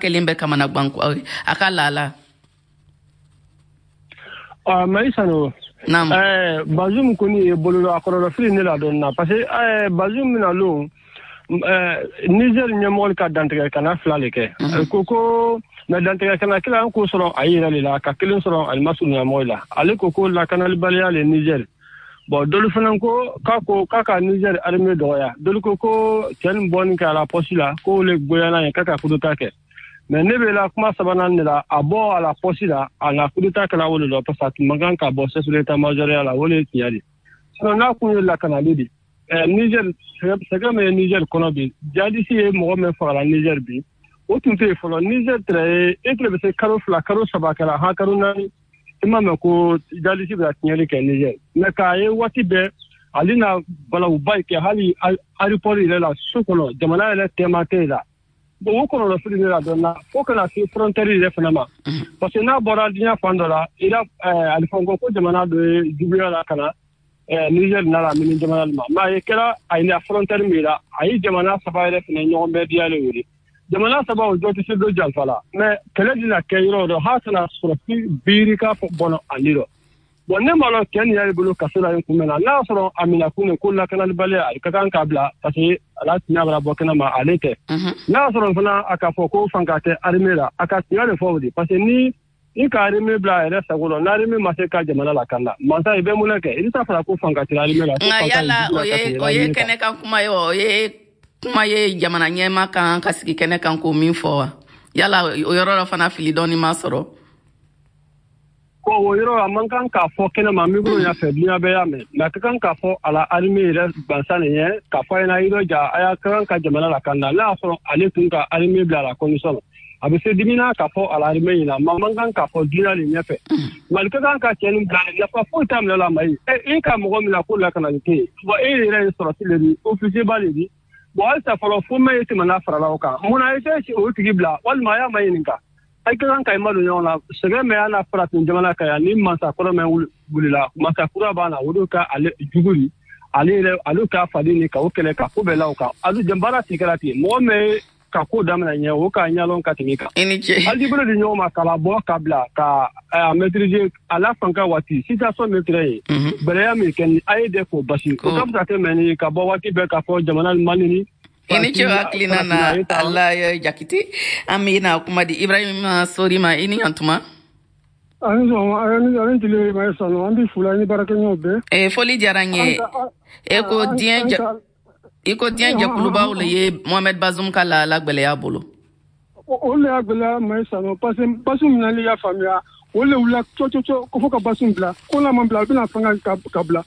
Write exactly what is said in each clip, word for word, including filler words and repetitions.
Kɛlen bɛ kamanagan a ka laala. Ah, Maïsano. Naam. Eh, Bazoum kɔni ye bolo a kɔlɔlɔ fili ne la dɔɔni na, parce que eh, Bazoum bɛna lon eh, Niger ɲɛmɔgɔ ka dantigɛ kana fila le kɛ. Mhm. Ko ko mais dantigɛ kana kelen an k'o sɔrɔ a yɛrɛ de la, ka kelen sɔrɔ ali masurunya mɔgɔ la. Ale ko ko lakanalibaliya le Niger. Bon, dɔlu fana ko k'a ko k'a ka Niger armée dɔgɔya. Dɔlu ko ko cɛ nin bɔni kɛ a la poste la, k'o le goyana ye k'a ka coup d'état kɛ. Mais ne bɛ la kuma sabanan de la, a bɔ a la poste la, a na coup d'état kɛla o de la, parce que a tun man kan ka bɔ chef d'état major ya la, o de ye tiɲɛ de. Sinon n'a kun ye lakanali de ɛ Niger, sɛgɛn min ye Niger kɔnɔ bi, jihadiste ye mɔgɔ min fagala Niger bi, o tun tɛ yen fɔlɔ. Niger tɛrɛ ye e tɛrɛ bɛ se kalo fila, kalo saba kɛra han, kalo naani, i m'a mɛn ko jihadiste bɛ ka tiɲɛli kɛ Niger. Mais k'a ye waati bɛɛ ale na balawuba kɛ hali aéroport yɛrɛ la, so kɔnɔ, jamana yɛrɛ tɛma tɛ yen la. Bon, o kɔlɔlɔ fili ne la dɔɔni na, fo kana se frontière yɛrɛ fana ma, parce que n'a bɔra diɲɛ fan dɔ la, i la alifɔn ko ko jamana dɔ ye juguya la ka na Niger nana lamini jamana ma, mais a ye kɛra a ye frontière min la, a ye jamana saba yɛrɛ fana ɲɔgɔn bɛɛ diyalen wele. Jamana saba o jɔ tɛ se dɔ janfa la, mais kɛlɛ dina kɛ yɔrɔ dɔ hali kana sɔrɔ fi biiri ka bɔnɔ ani dɔ. Bon, ne m'a lɔn cɛ nin y'ale bolo kaso la yen kun mɛn na, n'a y'a sɔrɔ a minɛ kun de ko lakanalibaliya, a ka kan k'a bila, parce que ala tiɲɛ bɛna bɔ kɛnɛ ma, ale tɛ. N'a y'a sɔrɔ fana a ka fɔ ko fanka tɛ armée la, a ka tiɲɛ de fɔ o de, parce que ni i ka armée bila a yɛrɛ sago la, n'armée ma se ka jamana lakana, mansa i bɛ mun kɛ? I bɛ taa fara ko fanka tɛ armée la. Nka yala o ye o ye kɛnɛ kan kuma ye wa? O ye kuma ye jamana ɲɛma kan ka sigi kɛnɛ kan k'o min fɔ wa? Yala o yɔrɔ la fana fili dɔɔni ma sɔrɔ? Ko o yɔrɔ a man kan k'a fɔ kɛnɛ ma, micro ɲɛfɛ, diɲɛ bɛɛ y'a mɛn, mais a ka kan k'a fɔ a la armée yɛrɛ gansan de ɲɛ, k'a fɔ a ɲɛna yɔrɔ ja a y'a ka kan ka jamana lakana. N'a y'a sɔrɔ ale tun ka armée bila a la condition na, a bɛ se dimina k'a fɔ a la armée ɲɛna, mais a man kan k'a fɔ diɲɛ de ɲɛfɛ. Mali ka kan ka cɛ nin bila, nafa foyi t'a minɛ la. Mayi e ka mɔgɔ min na ko lakanali tɛ yen, bon, e yɛrɛ ye sɔrɔsi de di, officier ba de di. Bon, halisa fɔlɔ fo mɛ ye tɛmɛna farala o kan, munna i tɛ o tigi bila walima a y'a ma ɲininka? A ka kan ka i ma don ɲɔgɔn na. Sɛgɛn min y'a na farafin jamana kan yan, ni mansakɔrɔ min wulila, mansakura b'a na, o de ka ale jugu ni ale yɛrɛ, ale ka faden ni ka o kɛlɛ ka ko bɛɛ la o kan. Ale baara ti kɛra ten, mɔgɔ min ka ko daminɛ ɲɛ, o ka ɲɛlɔn ka tɛmɛ kan. I ni ce. Hali bolo di ɲɔgɔn ma k'a labɔ ka bila ka a maîtriser a la fanka waati situation min filɛ ye, bɛrɛya min kɛ ni a ye de k'o basi, o ka fisa tɛmɛ ni ka bɔ waati bɛɛ k'a fɔ jamana man ni. I ni ce hakilina na ala Jakite. An bɛna kuma di Ibrahima Sori ma. I ni ɲantuma. Ani sɔgɔma, ani tile. Ma sanu, an bɛ fula ni baarakɛɲɔgɔnw bɛɛ. Eh, foli diyara n ye. E ko diɲɛ i ko diɲɛ jɛkulubaw le ye Mohamed Bazoum ka lahala gwɛlɛya bolo. O le y'a gwɛlɛya, ma sanu, parce que Bazoum minɛli, y'a faamuya, o le wulila cɔcɔcɔ ko fo ka Bazoum bila, ko n'a ma bila, a bɛna fanga ka ka bila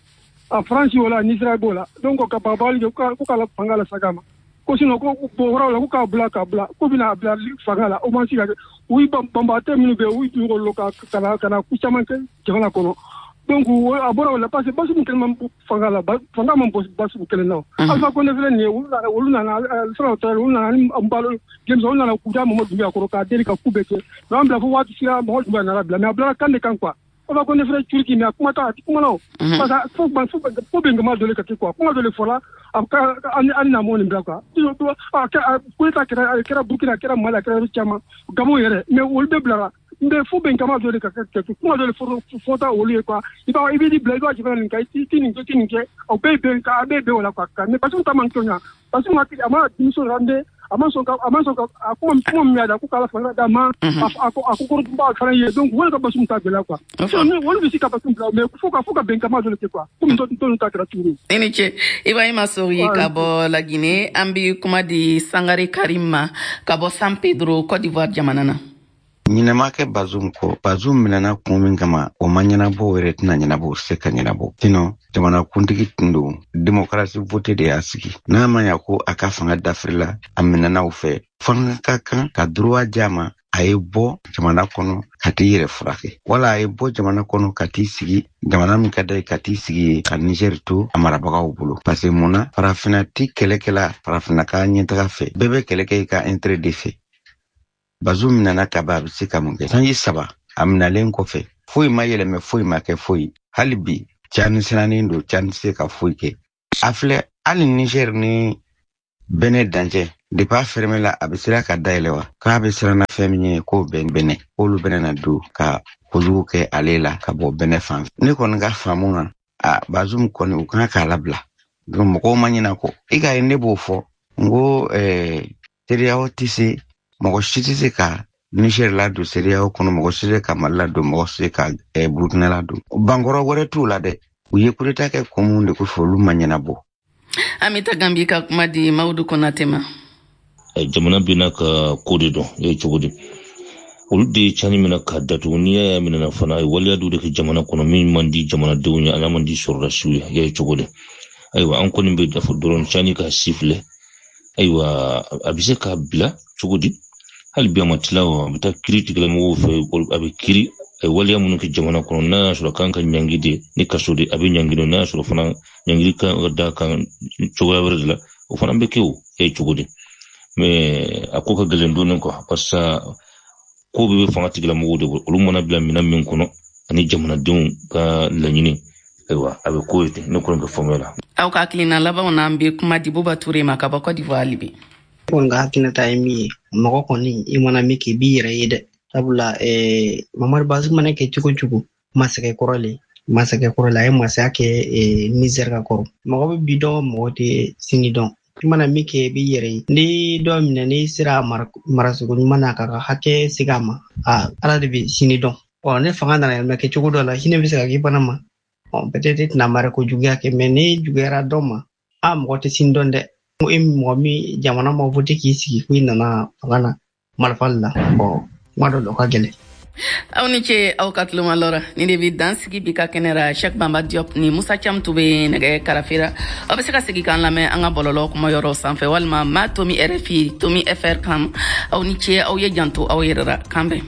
a Faransi o la, Nisira b'o la, donc ka bagabali kɛ ko k'a la fanga la saga ma, ko sinon ko bon wɛrɛw la ko k'a bila k'a bila ko bɛna a bila fanga la, o ma se ka kɛ. U banbagatɔ minnu bɛ yen, u y'u ka ka na ka na ko caman kɛ jamana kɔnɔ. Donc a bɔra o la, parce que Bazoum kelen ma fanga la, fanga ma bɔ Bazoum kelen na. Alpha Condé filɛ nin ye, olu nana olu nana sɔrɔ tɛ, olu nana ni Balo denmisɛnw, olu nana k'u da Mamadu Dumbuya kɔrɔ k'a deli ka ku bɛɛ kɛ, mais an bila fo waati sera, Mamadu Dumbuya nana bila, mais a bilara kan de kan quoi. Alpha Condé filɛ Turki, mais a kuma t'a kuma na o, parce que fo fo fo bɛnkanma dɔ de ka kɛ quoi, kuma dɔ de fɔra a ka an na mɔ nin bila quoi. A coup d'état kɛra, a kɛra Burkina, a kɛra Mali, a kɛra yɔrɔ caman, Gabon yɛrɛ, mais olu bɛɛ bilara, mais fo bɛnkanma dɔ de ka kɛ, kuma dɔ de fɔta olu ye quoi. I b'a i b'i bila i b'a jamana nin kan, i ti nin kɛ, i ti nin kɛ, o bɛɛ bɛn a bɛɛ bɛn o la quoi. Mais Bazoum ta man kɛ ɲa, Bazoum a ma denmuso la, a ma sɔn ka a ma sɔn ka a kuma kuma min y'a da ko k'ala fanga d'a ma, a ko a ko kɔrɔba fana ye, donc olu ka Bazoum ta gɛlɛya quoi. Olu bɛ se ka Bazoum bila, mais fo ka fo ka bɛnkanma dɔ de kɛ quoi, komi tɔw ta kɛra cogo min. I ni ce, Ibrahima Sori ka bɔ Laginɛ. An bi kuma di Sangare Karim ma ka bɔ San Pedro, Côte d'Ivoire jamana na. Ɲinɛ kɛ Bazoum kɔ. Bazoum minɛna kun min kama, o ma ɲɛnabɔ, o yɛrɛ tɛna ɲɛnabɔ, o se ka ɲɛnabɔ. Sinon jamana kuntigi tun don, démocratie voté de y'a sigi. N'a ma ɲa ko a ka fanga dafirila, a minɛna o fɛ, fanga ka kan ka droit di a ma, a ye bɔ jamana kɔnɔ ka t'i yɛrɛ furakɛ, wala a ye bɔ jamana kɔnɔ ka t'i sigi jamana min ka d'a ye, ka t'i sigi yen, ka Niger to a marabagaw bolo. Parce que mun na farafinna ti kɛlɛ kɛla farafinna ka ɲɛtaga fɛ? Bɛɛ bɛ kɛlɛ kɛ i ka intérêt de fɛ. Bazoum minɛna ka ban, a bɛ se ka mun kɛ? Sanji saba a minɛlen kɔfɛ, foyi ma yɛlɛmɛ, foyi ma kɛ foyi. Hali bi Cani sirannen don, Cani tɛ se ka foyi kɛ. A filɛ, hali Niger ni Bénin dancɛ depuis a fermé la, a bɛ sera ka dayɛlɛ wa? K'a bɛ siran na fɛn min ye, k'o bɛ Bénin, k'olu bɛna na don ka kojugu kɛ ale la ka bɔ Bénin fan fɛ. Ne kɔni ka faamu na, a Bazoum kɔni, u kan k'a labila. Donc mɔgɔw ma ɲina kɔ. I ka ye, ne b'o fɔ n ko ɛɛ CEDEAO tɛ se, mɔgɔ si tɛ se ka Niger ladon CEDEAO kɔnɔ, mɔgɔ si tɛ se ka Mali ladon, mɔgɔ si tɛ se ka eh, Burukina ladon. Bankɔrɔ wɛrɛ t'u la dɛ. U ye coup d'état kɛ kun mun de kosɔn, olu ma ɲɛnabɔ. An bɛ taa Gambi ka kuma di Mawudu Konate ma. Jamana bɛ ka ko de dɔn e cogo di, olu de ye cani minɛ k'a datugu. N'i y'a minɛ fana, a ye waleya dɔw de kɛ jamana kɔnɔ min man di jamanadenw ye, a man di sɔrɔdasiw ye. I y'a ye cogo di? Ayiwa, an kɔni bɛ dafa dɔrɔn, cani ka si filɛ. Ayiwa, a bɛ se k'a bila cogo di? Hali bi a ma tila o, a bɛ taa kiiri tigilamɔgɔw fɛ, a bɛ kiiri. A ye waleya minnu kɛ jamana kɔnɔ, n'a y'a sɔrɔ kan ka ɲangi de ni kaso de, a bɛ ɲangi de. N'a y'a sɔrɔ fana ɲangili kan ka da kan cogoya wɛrɛ de la, o fana bɛ kɛ o. E ye cogo di? Mais a ko ka gɛlɛn dɔɔnin quoi, parce que ko bɛɛ bɛ fanga tigilamɔgɔw de bolo. Olu mana bila minɛn min kɔnɔ ani jamanadenw ka laɲini, ayiwa, a bɛ ko ye ten. Ne kɔni ka faamuya la. Aw ka hakilina labanw na, an bɛ kuma di Buba Ture ma ka bɔ Côte d'Ivoire hali bi. Kɔni ka hakilinata ye min ye, mɔgɔ kɔni, i mana min kɛ, i b'i yɛrɛ ye dɛ. Sabula eh, Mamadu Bazoum mana kɛ cogo cogo, masakɛ kɔrɔ le, masakɛ kɔrɔ le, a ye masaya kɛ eh, Niger ka kɔrɔ. Mɔgɔ bɛ bi dɔn, mɔgɔ tɛ sini dɔn. I mana min kɛ, i b'i yɛrɛ ye. Ni dɔ minɛ, n'i sera marasogo ɲuman na, k'a ka hakɛ segin a ma, a Ala de bɛ sini dɔn. Ɔ ne fanga nana yɛlɛma kɛ cogo dɔ la, hinɛ bɛ se ka k'i fana ma. Ɔ peut-être i tɛna mara ko juguya kɛ, mais ni juguyara dɔ ma, a mɔgɔ tɛ sini dɔn dɛ. E mɔgɔ min jamana ma voté k'i sigi ko i nana fanga na marifa la, bɔn kuma dɔ la o ka gɛlɛn. Aw ni ce aw ka tulomalɔra. Ni de bi dan sigi bi ka kɛnɛ ra. Cheikh Bamba Diop ni Musa Cam tun bɛ nɛgɛ karafera. Aw bɛ se ka segin k'an lamɛn an ka bɔlɔlɔ kuma yɔrɔ sanfɛ walima ma tomi R F I tomi F R kan. Aw ni ce, aw ye janto aw yɛrɛ ra. Kan bɛn.